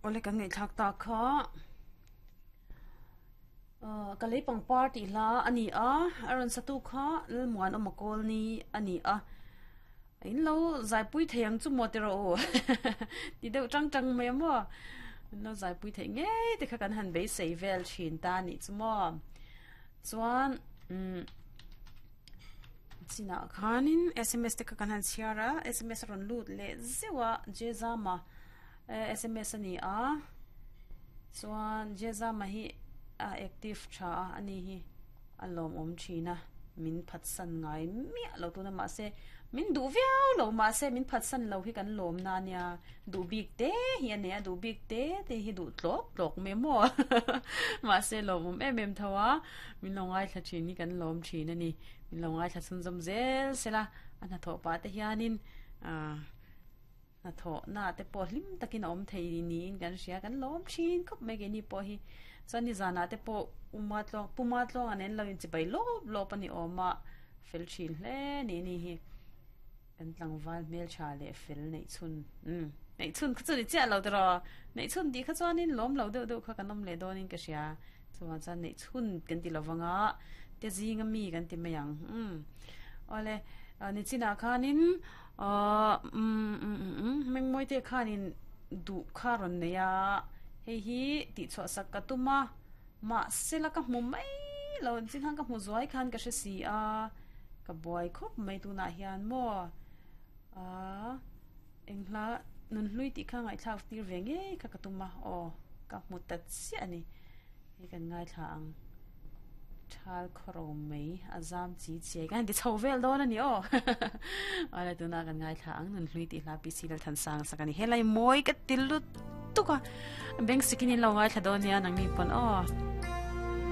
Awle kan ngaihthlak tak kha ah ka lei pangpar tih hla a ni a a rawn satu kha Lalmuanawma Kawlni a ni a in lo zaipui thei ang chu maw tiraw u ti deuh tang tang mai a maw in lo zaipui theih ngei te kha kan han beisei vel thin ta a nih chu maw chuan umm chinah khanin sms te kha kan han chhiar a sms a rawn lut leh zeuh a Jezama. Sms a ni a chuan Jezama hi a active tha a ani hi a lawmawm thin a min phatsan ngai miah lo tuna mahse min duh viau lo mahse min phatsan lo hi kan lawm na ania duh bik te hi a nei a duh bik te te hi duh tlawk tlawk mai maw mahse lawmawm em em tho a min lo ngaithla thin hi kan lawm thin a ni min lo ngaithla chhunzawm zel sela a hnathawh pah te hianin ah. Hnathawhna te pawh hlim takin a awm thei niin kan hria, kan lawm thin khawp mai keini pawh hi. Chuan nizanah te pawh Uma tluang Puma tluanga nen lo inchibai lawp lawp a ni awm a, fel thin hle ni ni hi. Kan tlangval hmeltha leh fel neih chhun umm neih chhun kha chu ni chiah lo tiraw, neih chhun tih kha chuanin lawm lo deuh deuh kha kan awm leh dawnin ka hria. Chuvang chuan neih chhun kan ti lovang a, te zinga mi kan ti mai ang umm. Awle nichinah khanin Ahh umm umm umm Mengmawite khanin duh kha rawn nei a, hei hi tihchhuah sak ka tum a, mahse la ka hmu mai lo chin khan ka hmu zuai khan ka hre si a, ka buai khawp mai tunah hian maw ahh eng hla nunhlui tih kha ngaihthlak tir ve ngei kha ka tum a aw ka hmu ta chiah a ni. Hei kan ngaithla ang. Thal khawro mai a zam chi chiai kan ti chho vel dawn a ni aw. Awle tuna kan ngaithla ang nun hlui tih hla PC Lalthansanga sak a ni. Helai mawi ka ti lutuk a. Beng sikin in lo ngaithla dawn nia nangni pawn aw.